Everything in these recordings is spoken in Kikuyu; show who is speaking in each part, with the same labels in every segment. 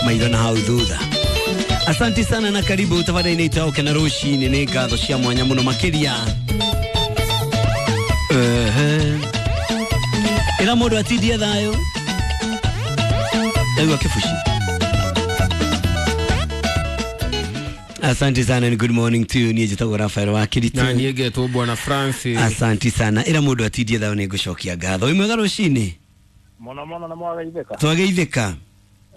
Speaker 1: Maitho na hau thutha. Asanti sana na karibu tafadhali itaoke na rucini nĩ ngatho cia mwanya mũno makĩria. Ehe. Ĩra mũndũ atindie thayũ. Ndaigua kĩbuci. Asante sana and good morning to you. Niĩ njĩtagwo Rafael wa Kiritu.
Speaker 2: Na niĩ ngetwo Bwana Francis.
Speaker 1: Asanti sana. Ĩra mũndũ atindie thayũ nĩ ngũcokia ngatho. Wĩ mwega rũcinĩ?
Speaker 3: Mũno mũno nĩ mwageithĩka.
Speaker 1: Twageithĩka.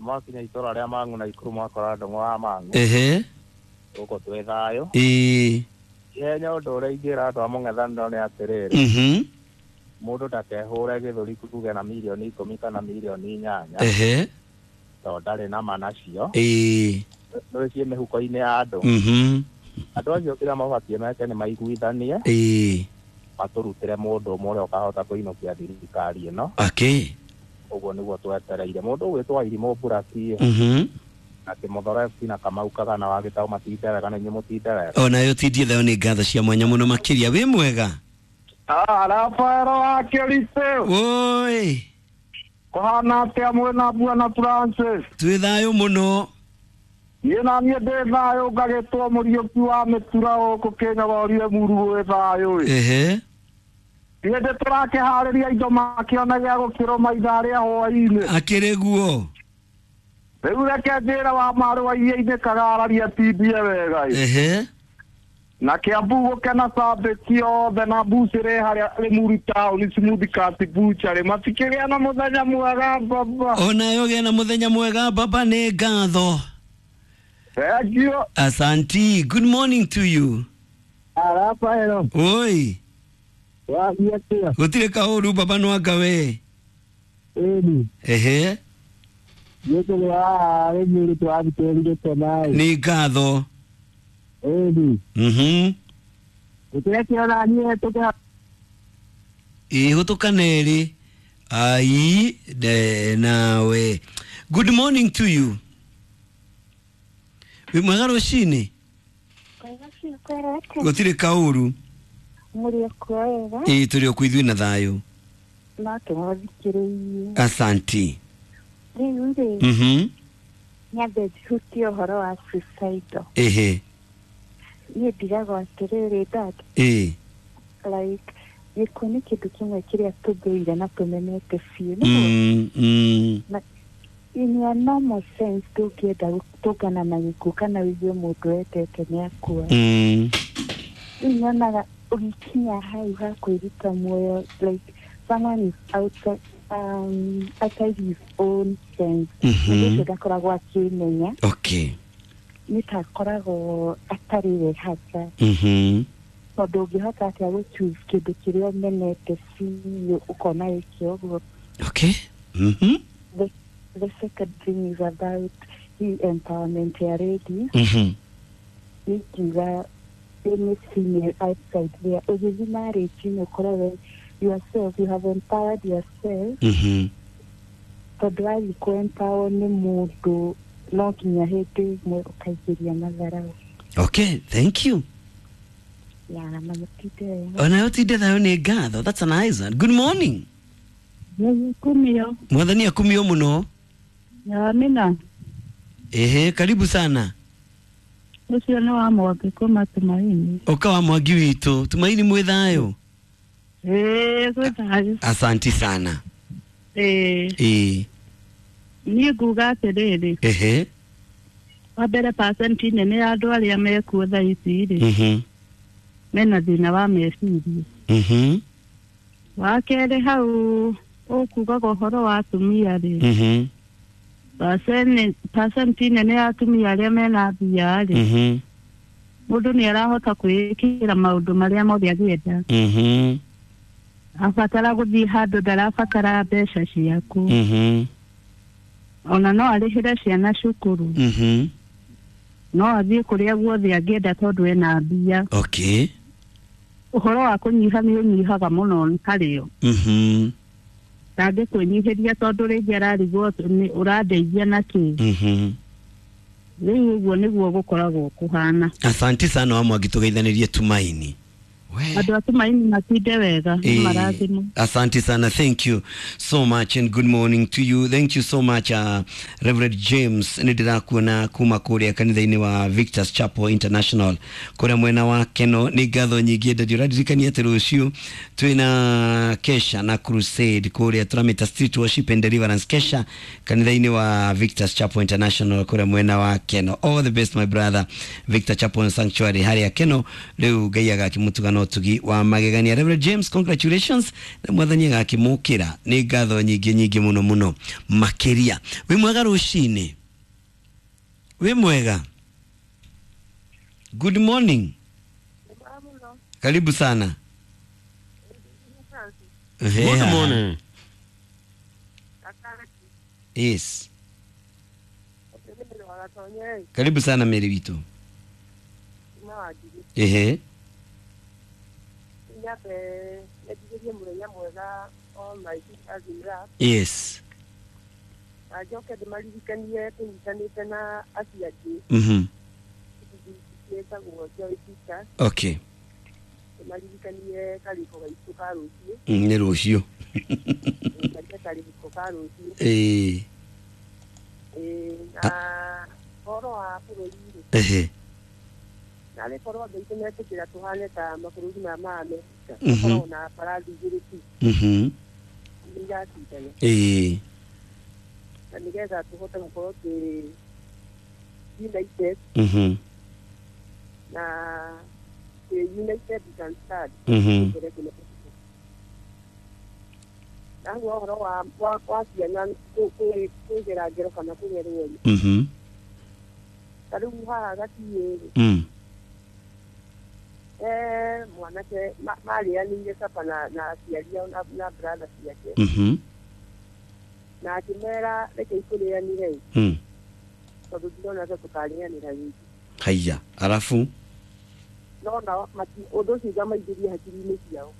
Speaker 3: Mwakinya itũra rĩa Mang'u na Ikuru mwakora ndũng'ũ wa Mang'u.
Speaker 1: Ehe.
Speaker 3: Gũkũ twĩ thayũ.
Speaker 1: Ĩĩ.
Speaker 3: Ihenya ũndũ ũrĩa ingĩra andũ a mũng'ethanĩro nĩ atĩrĩrĩ. Mũndũ ndakehũre gĩthũri kuge na mirioni 10 kana mirioni 8.
Speaker 1: Ehe.
Speaker 3: Tondũ ndarĩ na ma nacio.
Speaker 1: Ĩĩ.
Speaker 3: Nĩ ciĩ mĩhuko-inĩ ya andũ. Andũ acio kĩrĩa mabatiĩ meke nĩ maiguithanie.
Speaker 1: Ĩĩ.
Speaker 3: Matũrutĩre mũndũ ũmwe ũrĩa ũkahota kũinũkia thirikari ĩno.
Speaker 1: Okay.
Speaker 3: Ũguo nĩguo twetereire. Mũndũ ũgwĩtwo Irimũ Mburaki. Na Kĩmũthoro FC na Kamau Kagana wa Gĩtaũ matinde wega na inyuĩ mũtinde wega.
Speaker 1: Onayo tindie thayũ nĩ ngatho cia mwanya mũno makĩria. Wĩ mwega?
Speaker 4: Rafaelo wa Kĩricũ.
Speaker 1: Woi.
Speaker 4: Kũhana atĩa mwĩna Bwana Francis?
Speaker 1: Twĩ thayũ mũno.
Speaker 4: Niĩ na niĩ ndĩ thayũ ngagĩtwo Mũriũki wa mĩtura gũkũ Kĩnyogorie Muru gwĩ thayũ ĩ.
Speaker 1: Ehe.
Speaker 4: Niĩ ndĩ tũrakĩharĩria indo makĩona gĩa gũkĩrũma ithaa rĩa hwaĩ-inĩ.
Speaker 1: Akĩrĩ guo.
Speaker 4: Rĩu reke njĩre wa marĩ wa iria-inĩ kagararia tindie wega ĩ.
Speaker 1: Ehe.
Speaker 4: Na Kiambu gũkena cambĩki othe na mbucĩrĩ harĩa Limuru town Smooth Cut Butchery matikĩgĩa na mũthenya mwega baba.
Speaker 1: Onayo gĩa na mũthenya mwega baba nĩ ngatho.
Speaker 4: Thank you.
Speaker 1: Asanti. Good morning to you.
Speaker 4: Rafaelo.
Speaker 1: Oi.
Speaker 4: Wathiĩ atĩa?
Speaker 1: Gũtirĩ kaũru baba no anga we.
Speaker 4: Ĩni.
Speaker 1: Ehe.
Speaker 4: Niĩ tũrĩ haha Limuru tũrathikĩrĩria tũnaĩ.
Speaker 1: Nĩ ngatho.
Speaker 4: Ĩni. Gũtirĩ niĩ tũkĩ
Speaker 1: Ĩ hũtũkana ĩrĩ. Ai de nawe. Good morning to you. Wĩ mwega rũcinĩ? Gũtirĩ kaũru.
Speaker 5: Mũrĩ okuo wega?
Speaker 1: Ĩ tũrĩ okuo ithuĩ na thayũ.
Speaker 5: No tũmũthikĩrĩirie.
Speaker 1: Asanti.
Speaker 5: Rĩu rĩ, nyambe njihutie ũhoro wa suicidal.
Speaker 1: Ehe.
Speaker 5: Niĩ ndigagwo atĩrĩrĩ dad.
Speaker 1: Ĩ.
Speaker 5: Like gĩkuũ nĩ kĩndũ kĩmwe kĩrĩa tũthũire na tũmenete biũ. Na in a normal sense ndũngĩenda gũtũngana na gĩkuũ kana ũigue mũndũ wendete nĩ akua. Rĩu nyonaga ũgĩkinya hau ha kwĩruta muoyo like someone is outside, outside his own sense. Mũndũ ũcio ndakoragwo akĩmenya.
Speaker 1: Okay.
Speaker 5: Nĩ ta akoragwo atarĩ we hasa. Tondũ ũngĩhota atĩa gũ choose kĩndũ kĩrĩa ũmenete biũ ũkona wĩke ũguo.
Speaker 1: Okay.
Speaker 5: The second thing is about the empowerment ya ladies. Nĩngiuga any female outside there ũgĩthiĩ marriage-inĩ ũkoragwo yourself, you have empowered yourself. Tondũ wathiĩ kũ empower nĩ mũndũ no nginya hĩndĩ ĩmwe ũkaingĩria matharau.
Speaker 1: Okay, thank you.
Speaker 5: Ya, na mũtinde wega.
Speaker 1: Onayo tinde thayũ nĩ ngatho. That's a nice one. Good morning.
Speaker 6: Kumio.
Speaker 1: Mwathani akumio mũno.
Speaker 6: Amina.
Speaker 1: Ehe, karibu sana.
Speaker 6: Ũcio nĩ wa Mwangi kuma Tumaini.
Speaker 1: Ũka wa Mwangi witũ. Tumaini mwĩ thayũ?
Speaker 6: Ĩĩ, gwĩ thayũ.
Speaker 1: Asanti sana.
Speaker 6: Ĩĩ.
Speaker 1: Ĩĩ.
Speaker 6: Niĩ nguga atĩrĩrĩ.
Speaker 1: Ehe.
Speaker 6: Wa mbere percent nene ya andũ arĩa mekuo thaa ici rĩ. Mena thĩna wa meciria. Wa kerĩ hau ũkugaga ũhoro wa atumia rĩ. Percent nene ya atumia arĩa mena mbia rĩ. Mũndũ nĩ arahota kwĩĩkĩra maũndũ marĩa mothe angĩenda. Abatara gũthiĩ handũ ndarabatara mbeca ciaku. Ona no arĩhĩre ciana cukuru. No athiĩ kũrĩa guothe angĩenda tondũ ena mbia.
Speaker 1: Okay.
Speaker 6: Ũhoro wa kũnyiha nĩ ũnyihaga mũno harĩo. Ndangĩkwĩnyihĩria tondũ rĩngĩ ararigwo nĩ ũrandeithia na kĩ. Rĩu ũguo nĩguo gũkoragwo kũhana.
Speaker 1: Asanti sana wa Mwangi tũgeithanĩrie Tumaini.
Speaker 6: Andũ a Tumaini matinde wega, marathimo.
Speaker 1: Asante sana, thank you so much and good morning to you. Thank you so much, Reverend James. Nĩ ndĩrakuona kuma kũrĩa kanitha-inĩ wa Victor's Chapel International kũrĩa mwena wa Keno. Nĩ ngatho nyingĩ ndadio ũrandirikania atĩ rũciũ twĩna kesha na crusade kũrĩa tũramĩta Street Worship and Deliverance kesha kanitha-inĩ wa Victor's Chapel International kũrĩa mwena wa Keno. All the best, my brother. Victor Chapel Sanctuary harĩa Keno rĩu Ngai agakĩmũtuga na ũtugi wa magegania. Reverend James, congratulations, na mwathani agakĩmũkĩra. Nĩ ngatho nyingĩ nyingĩ mũno mũno makĩria. Wĩ mwega rũcinĩ? Wĩ mwega? Good morning, karibu sana.
Speaker 2: Good morning.
Speaker 1: Yes, karibu sana Mary witũ. Ehe. Yes.
Speaker 7: Njoke ndĩmaririkanie tũnyitanĩte na acio angĩ. Ciĩtagwo Joy Sisters.
Speaker 1: Okay.
Speaker 7: Ndĩmaririkanie karĩko gaitũ ka rũciũ.
Speaker 1: Nĩ rũciũ.
Speaker 7: Karĩko ka rũciũ.
Speaker 1: Ĩĩ.
Speaker 7: Na ũhoro wa bũrũri rĩ.
Speaker 1: Ehe.
Speaker 7: Narĩ korwo andũ aitũ metĩkĩra tũhane ta mabũrũri maya ma Amerika. Tũkoragwo na mbarathi igĩrĩ tu. Nĩ iracindana.
Speaker 1: Ĩĩ.
Speaker 7: Na nĩgetha tũhote gũkorwo twĩ united. Na twĩ united we can stand. Naguo ũhoro wa ciana kũgera ngero kana kũgerwo rĩ. Ta rĩu haha Gatiĩ rĩ. Mwanake marĩanĩire capa na aciari ao na brother ciake. Na akĩmera reke ikũrĩanĩre tondũ ndirona ta tũkarĩanĩra rĩngĩ.
Speaker 1: Haiya, arabu?
Speaker 7: No nao ũndũ ũcio ũkamaingĩria hakiri-inĩ ciao.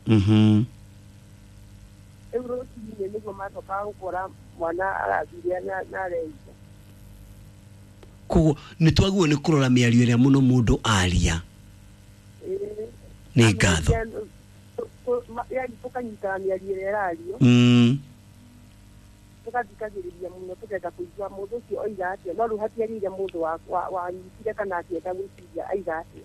Speaker 7: Rĩu rũcinĩ nĩguo macokaga gũkora mwana arathire na areita.
Speaker 1: Koguo nĩ twagĩrĩirwo nĩ kũrora mĩario ĩrĩa mũno mũndũ aria. Nĩ ngatho.
Speaker 7: Yani tũkanyitaga mĩario ĩrĩa ĩrario. Tũgathikagĩrĩria mũno tũkenda kũigua mũndũ ũcio oiga atĩa, no rĩu hatiagĩrĩire mũndũ wanyitire kana akĩenda gwĩciria aiga atĩa.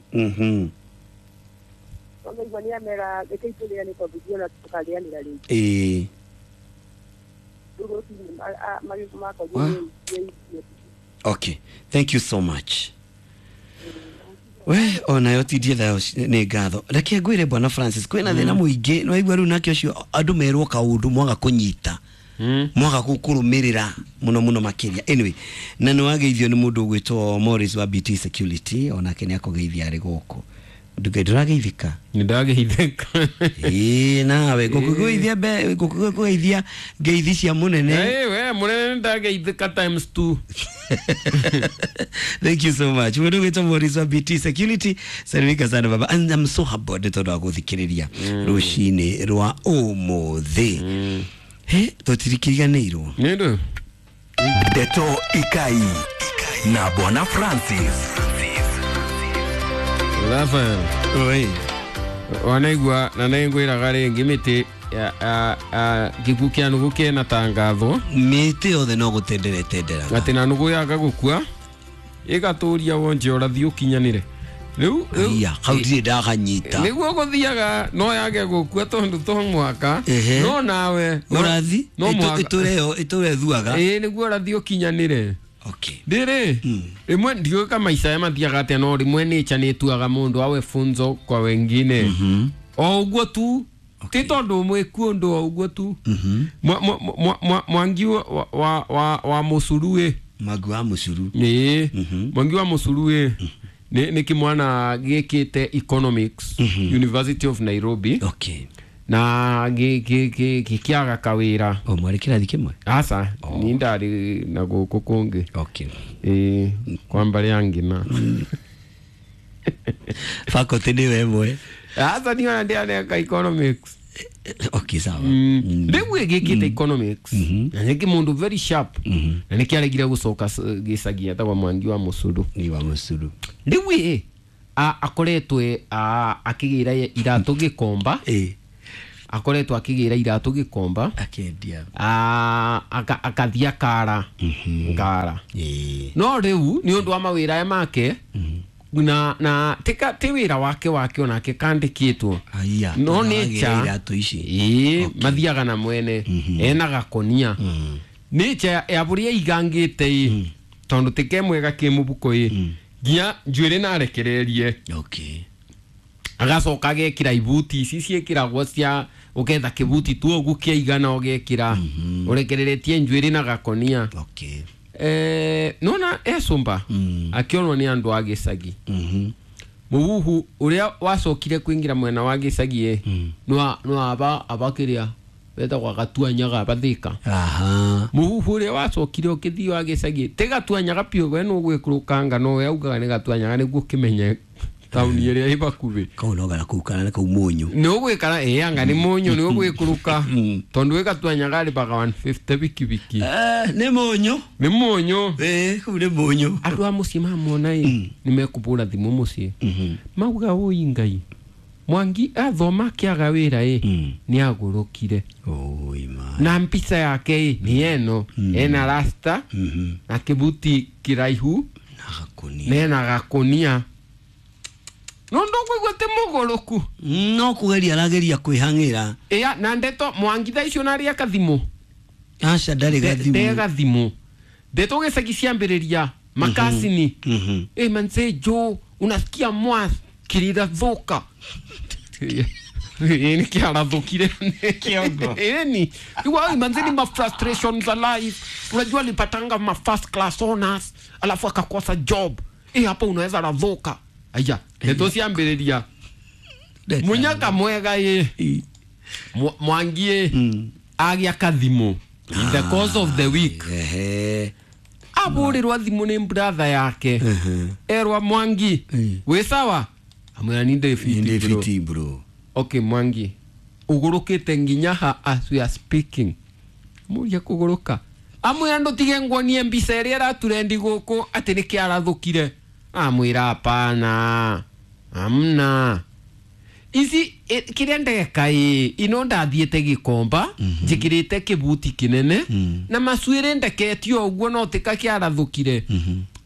Speaker 7: Tondũ aigua nĩ amera reke itũrĩane tondũ ndiona tũkarĩanĩra rĩngĩ.
Speaker 1: Ĩĩ.
Speaker 7: Rĩu rũcinĩ makorire nĩ.
Speaker 1: Okay, thank you so much. We onayo tindie thayo nĩ ngatho. Reke ngwĩre Bwana Francis, kwĩna thĩna mũingĩ nĩ waigua rĩu nake ũcio andũ merwo kaũndũ mwaga kũnyita. Mwaga gũkũrũmĩrĩra mũno mũno makĩria. Anyway, na nĩ wageithio nĩ mũndũ ũgwĩtwo Morris wa BT Security, onake nĩ akũgeithia arĩ gũkũ. Nduge ndũrageithĩka?
Speaker 2: Nĩ ndageithĩka.
Speaker 1: Ĩĩ nawe ngũkũgeithia mbe ngũkũgeithia ngeithi cia mũnene.
Speaker 2: Ĩĩ we mũnene nĩ ndageithĩka times 2.
Speaker 1: Thank you so much. Mũndũ ũgwĩtwo Morris wa BT Security, salimika sana baba. And I'm so humbled nĩ tondũ wa gũthikĩrĩria rũcinĩ rwa ũmũthĩ. He, tũtirikiriganĩirwo.
Speaker 2: Nĩ ndũ?
Speaker 8: Ndeto Ikai na Bwana Francis.
Speaker 2: Rafael.
Speaker 1: Oi.
Speaker 2: Wanaigua na nĩngwĩraga rĩngĩ mĩtĩ gĩkuũ kĩa nũgũ kĩna tangathwo.
Speaker 1: Mĩtĩ yothe no gũtendera ĩtenderaga.
Speaker 2: Atĩ na nũgũ yaga gũkua ĩgatũria wonje ũrathi ũkinyanĩre. Rĩu
Speaker 1: Iya, hau ndirĩ ndakanyita.
Speaker 2: Nĩguo gũthiaga no yage gũkua tondũ to mwaka. No nawe
Speaker 1: ũrathi ĩtũre ĩthuaga.
Speaker 2: Ĩĩ nĩguo ũrathi ũkinyanĩre.
Speaker 1: Okay.
Speaker 2: Ndĩrĩ rĩmwe ndiũĩ ka maica aya mathiaga atĩa, no rĩmwe nature nĩ ĩtuaga mũndũ awe funzo kwa wengine. O ũguo tu. Ti tondũ mwĩku ũndũ o ũguo tu. Mwangi wa mũcuru ĩ.
Speaker 1: Mwangi wa mũcuru.
Speaker 2: Ĩĩ. Mwangi wa mũcuru ĩ. Nĩ kĩmwana gĩkĩte economics, University of Nairobi.
Speaker 1: Okay.
Speaker 2: Na gĩkĩaga kawĩra.
Speaker 1: O mwarĩ kĩrathi kĩmwe?
Speaker 2: Aca, ni ndarĩ na gũkũ kũngĩ.
Speaker 1: Okay.
Speaker 2: Ĩĩ, kwa mbarĩ ya ngina.
Speaker 1: Faculty nĩ ĩmwe.
Speaker 2: Aca niĩ ona ndĩaneka economics.
Speaker 1: Okay, sawa.
Speaker 2: Rĩu gĩkĩte economics. Na nĩ kĩmũndũ very sharp. Na nĩkĩaregire gũcoka gĩcagi etagwo Mwangi wa Mũcuru.
Speaker 1: Mwangi wa Mũcuru.
Speaker 2: Rĩu ĩ, Akoretwe akĩgĩra iratũ gĩkomba. Akoretwo akĩgĩra iratũ gĩkomba
Speaker 1: akendia.
Speaker 2: Akathiĩ akara ngara. No rĩu nĩ ũndũ wa mawĩra aya make na ti wĩra wake onake kandĩkĩtwo. No nature ĩĩ mathiaga na mwene ena gakonia. Nature ya bũrĩa igangĩte ĩ tondũ ti kemwe gakĩ mũbuko ĩ nginya njuĩrĩ na arekererie. Agacoka agekĩra ibuti ici ciĩkĩragwo cia ũgetha kĩbuti tu ũguo kĩaigana ũgekĩra ũrekereretie njuĩrĩ na gakonia. Nona ecumba akĩonwo nĩ andũ a gĩcagi. Mũhuhu ũrĩa wacokire kũingĩra mwena wa gĩcagi ĩ no aba abakĩrĩa wetagwo gatuanyaga bathika. Mũhuhu ũrĩa wacokire ũkĩthiĩ wa gĩcagi ti gatuanyaga piũ we nũgwĩkũrũkanga no we augaga nĩ gatuanyaga nĩguo ũkĩmenye taũni ĩrĩa ĩ hakuhĩ.
Speaker 1: Kau no gara kuu kana kau mũnyũ.
Speaker 2: Nĩ ũgwĩkara ĩ anga nĩ mũnyũ nĩ ũgwĩkũrũka tondũ wĩ gatuanyaga arĩbaga 150 bikibiki.
Speaker 1: Nĩ mũnyũ.
Speaker 2: Nĩ mũnyũ.
Speaker 1: Kau nĩ mũnyũ.
Speaker 2: Andũ a mũciĩ mamwona ĩ nĩ mekũbũra thimũ mũciĩ. Mauga ũi Ngai Mwangi athoma akĩaga wĩra ĩ nĩ agũrũkire. Na mbica yake ĩ nĩ ĩno ena rasta na kĩbuti kĩraihu na ena gakonia. No ndũkũigua ti mũgũrũku.
Speaker 1: No kũgeria arageria kwĩhang'ĩra.
Speaker 2: Ĩa na ndeto Mwangi thaa icio narĩ akathimũ.
Speaker 1: Aca ndarĩ gathimũ.
Speaker 2: Nde gathimũ. Ndeto gĩcagi ciambĩrĩria makasini. Manze jo unasikia mwas kilirathuka. Ni kiarathukire
Speaker 1: kiongo.
Speaker 2: Ni iwa manze ni ma frustrations za life. Unajua alipatanga ma first class honors alafu akakosa job. Hapo unaweza rathuka. Aya, ndeto ciambĩrĩria. Munyaka mwega ĩ Mwangi ĩ agĩa kathimũ in the course of the week. Abũrĩrwo thimũ nĩ brother yake. Erwa Mwangi wĩ sawa? Amwĩra ni ndĩ fiti
Speaker 1: bro.
Speaker 2: Okay Mwangi ũgũrũkĩte nginya ha as we are speaking. Mũria kũgũrũka. Amwĩra ndũtige nguonie mbica ĩrĩa ĩraturendi gũkũ atĩ nĩ kĩarathũkire. Amwĩra hapana. Amna. Ici kĩrĩa ndeka ĩ ino ndathiĩte gĩkomba njĩkĩrĩte kĩbuti kĩnene na macuĩrĩ ndeketio ũguo no tika kĩarathũkire.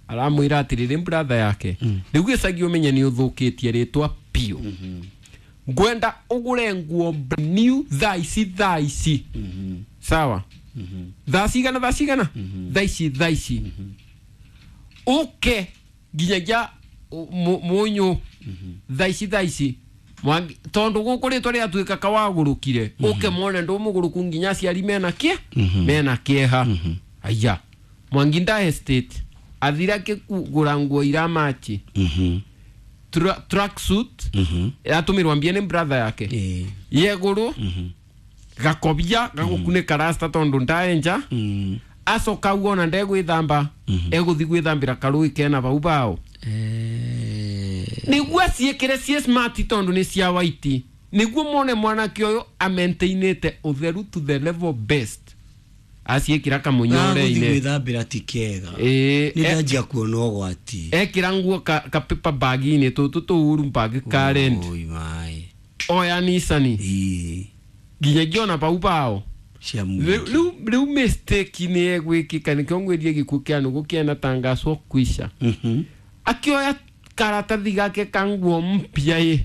Speaker 2: Aramwĩra atĩrĩrĩ brother yake rĩu gĩcagi ũmenye nĩ ũthũkĩtie rĩtwa piũ. Ngwenda ũgũre nguo new thaa ici thaa ici. Sawa? Thaa cigana thaa cigana? Thaa ici thaa ici. Ũke nginyagia mũnyũ thaa ici thaa ici. Tondũ gũkũ rĩtwa rĩatuĩka kawagũrũkire ũke mone ndũmũgũrũku nginya aciari mena kĩ mena kĩeha. Aya Mwangi nda estate athira kũgũra nguo iramachi tracksuit ĩratũmĩrwo mbia nĩ brother yake yegũrũ gakobia gagũkunĩka rasta tondũ ndaenja acoka uona ndegwĩthamba egũthiĩ gwĩthambĩra karũĩ kena bau bao nĩguo aciĩkĩre ciĩ smart tondũ nĩ cia white nĩguo mone mwanake ũyũ amaintainĩte ũtheru to the level best aciĩkĩra kamũnyore-inĩ
Speaker 1: gwĩthambĩra ti kega nĩ ndanjia kuona ũgwati
Speaker 2: ekĩra nguo ka paper bag-inĩ tũtũ tũuru bag current oya Nissan nginyagia ona bau bao rĩu mistake nĩ egwĩkĩka nĩkĩo ngwĩrie gĩkuũ kĩa nũgũ kĩanatangacwo kwisha. Akĩoya karatathi gake ka nguo mpya ĩ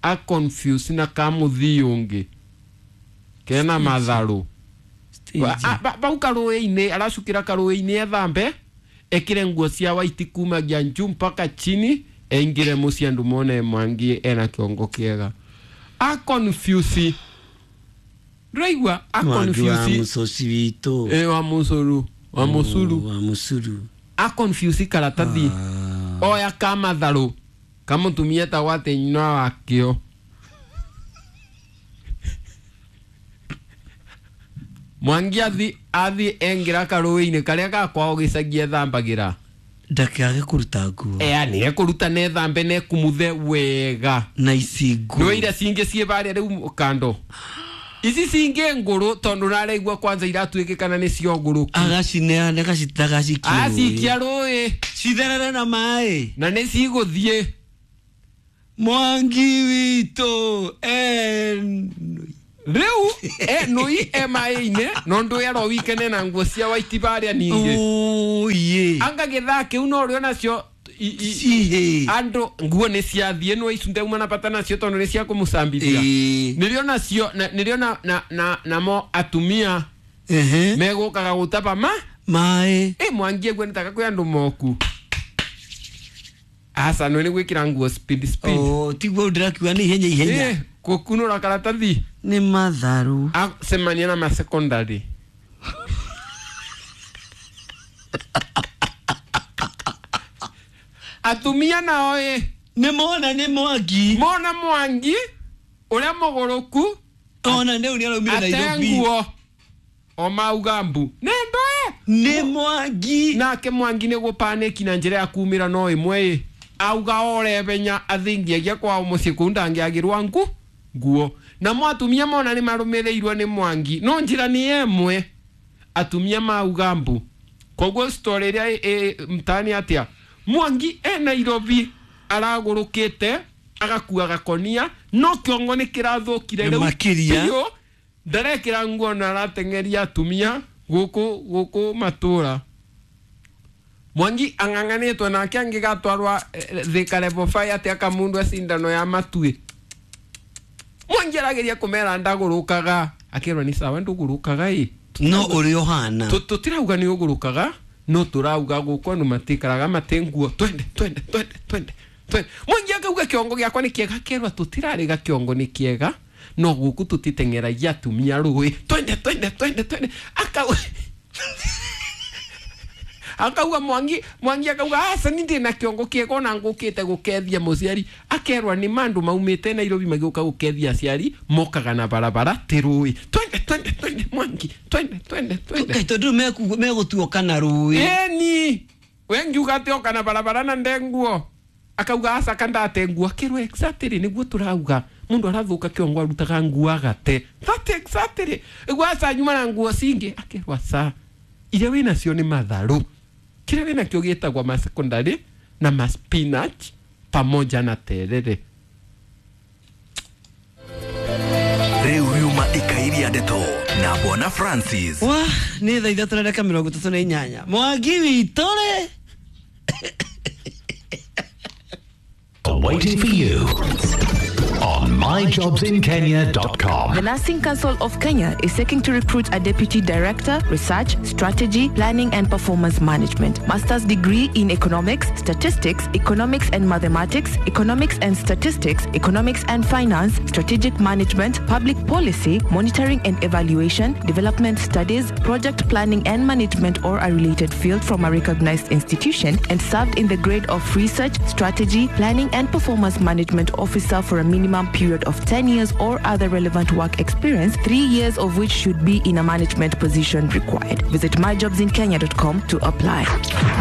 Speaker 2: a confuse na ka mũthii ũngĩ kena matharũ bau karũĩ-inĩ aracukĩra karũĩ-inĩ ethambe ekĩre nguo cia white kumagia njuu mpaka chini eingĩre mũciĩ andũ mone Mwangi ena kĩongo kĩega. A confuse ndũraigua a confuse
Speaker 1: wa mũcoci witũ
Speaker 2: wa mũcũrũ wa mũcuru
Speaker 1: wa mũcuru
Speaker 2: a confuse karatathi oya ka matharũ kamũtumia etagwo atĩ nyina wakĩo. Mwangi athi engĩra karũĩ-inĩ karĩa ga kwao gĩcagi ethambagĩra
Speaker 1: ndakage kũruta nguo
Speaker 2: nĩ ekũruta na ethambe na ekumuthe wega
Speaker 1: na ici nguo
Speaker 2: nĩ iria cingĩ ciĩ barĩa rĩu kando ici cingĩ ngũrũ tondũ naraigua kwanza iratuĩkĩkana nĩ cio ngũrũku
Speaker 1: agacineana agacikia
Speaker 2: acikia rũĩ
Speaker 1: citherere na maĩ
Speaker 2: na nĩ cigũthiĩ.
Speaker 1: Mwangi witũ
Speaker 2: Rĩu nũi e maĩ-inĩ no ndũ ero wikene na nguo cia white barĩa ningĩ.
Speaker 1: Oye.
Speaker 2: Anga gĩthaa kĩu no ũrĩo nacio andũ nguo nĩ ciathiĩ no icu ndeuma na bata nacio tondũ nĩ cia kũmũcambithia. Nĩrĩo nacio nĩrĩo na namo atumia megũkaga gũtaba ma
Speaker 1: maĩ.
Speaker 2: Mwangi eguo nĩtaka kwĩ andũ moku. Aca no nĩ gwĩkĩra nguo speed speed.
Speaker 1: Oh, tiguo ndĩrakiuga nĩ ihenya ihenya.
Speaker 2: Gũkunũra karatathi
Speaker 1: nĩ matharu.
Speaker 2: Acemania na ma secondary. Atumia nao
Speaker 1: nĩ mona nĩ Mwangi.
Speaker 2: Mona Mwangi ũrĩa mũgũrũku
Speaker 1: ona nĩ ũrĩa araumire Nairobi.
Speaker 2: Ate nguo o mauga mbu nĩ ndoe
Speaker 1: nĩ Mwangi.
Speaker 2: Nake Mwangi nĩ gũpanĩki na njĩra ya kumĩra no ĩmwe auga orebenya athingiagia kwao mũciĩ kũu ndangĩagĩrwa nguo. Namo atumia mona nĩ marũmĩrĩirwo nĩ Mwangi no njĩra nĩ ĩmwe atumia mauga mbu. Koguo story ĩrĩa mtaani atĩa Mwangi e Nairobi aragũrũkĩte agakua gakonia no kĩongo nĩ kĩrathũkire rĩu
Speaker 1: makĩria
Speaker 2: ndarekĩra nguo na arateng'eria atumia gũkũ matũra. Mwangi ang'ang'anĩtwo nake angĩgatwarwa Thika level 5 atĩ akamundwa cindano ya matuĩ. Mwangi arageria kũmera ndagũrũkaga akĩrwo nĩ sawa ndũgũrũkaga ĩ
Speaker 1: no ũrĩa ũhana
Speaker 2: tũtirauga nĩ ũgũrũkaga no tũrauga gũkũ andũ matikaraga mate nguo twende twende twende twende twende. Mwangi akauga kĩongo gĩakwa nĩ kĩega akerwo tũtirarĩga kĩongo nĩ kĩega no gũkũ tũtiteng'eragia atumia rũĩ twende twende twende twende. Akauga Mwangi akauga aca ni ndĩ na kĩongo kĩega ona ngũkĩte gũkethia mũciari akerwa nĩ mandũ maumĩte Nairobi magĩũka gũkethia aciari mokaga na barabara ti rũĩ twende twende twende Mwangi twende twende twende.
Speaker 1: Tondũ megũtuoka na rũĩ.
Speaker 2: Eni we ngiuga atĩ oka na barabara na ndenguo akauga aca kandate nguo akerwo exactly nĩguo tũrauga mundu arathuka kĩongo arutaga nguo agate that exactly iguo aca nyuma na nguo cingĩ akerwo aca iria wĩnacio nĩ matharũ kĩrĩa wĩnakĩo gĩtagwo ma secondary na ma spinach pamoja na terere.
Speaker 8: Rĩu riuma ikairia ndeto na Bwana Francis.
Speaker 1: Wa nĩ thaa 3:38. Mwangi witũ rĩ
Speaker 9: waiting for you on myjobsinkenya.com.
Speaker 10: The Nursing Council of Kenya is seeking to recruit a Deputy Director, Research, Strategy, Planning and Performance Management, Master's degree in Economics, Statistics, Economics and Mathematics, Economics and Statistics, Economics and Finance, Strategic Management, Public Policy, Monitoring and Evaluation, Development Studies, Project Planning and Management or a related field from a recognized institution, and served in the grade of Research, Strategy, Planning and Performance Management Officer for a minimum period of 10 years or other relevant work experience, 3 years of which should be in a management position required. Visit myjobsinkenya.com to apply.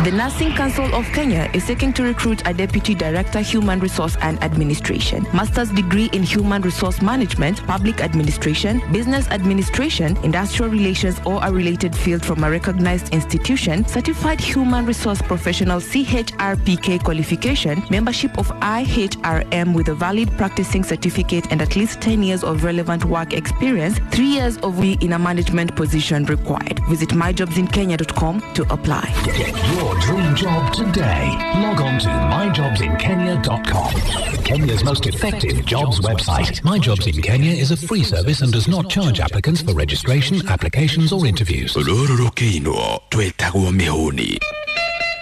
Speaker 10: The Nursing Council of Kenya is seeking to recruit a Deputy Director, Human Resource and Administration, Master's degree in Human Resource Management, Public Administration, Business Administration, Industrial Relations or a related field from a recognized institution, Certified Human Resource Professional CHRPK qualification, membership of IHRM with a valid practicing certificate and at least 10 years of relevant work experience, 3 years of in a management position required. Visit myjobsinkenya.com to apply.
Speaker 9: Get your dream job today. Log on to myjobsinkenya.com. Kenya's most effective jobs website. My Jobs in Kenya is a free service and does not charge applicants for registration, applications or interviews.
Speaker 8: Rũrũ rũkĩinwo twĩtagwo mĩhũni.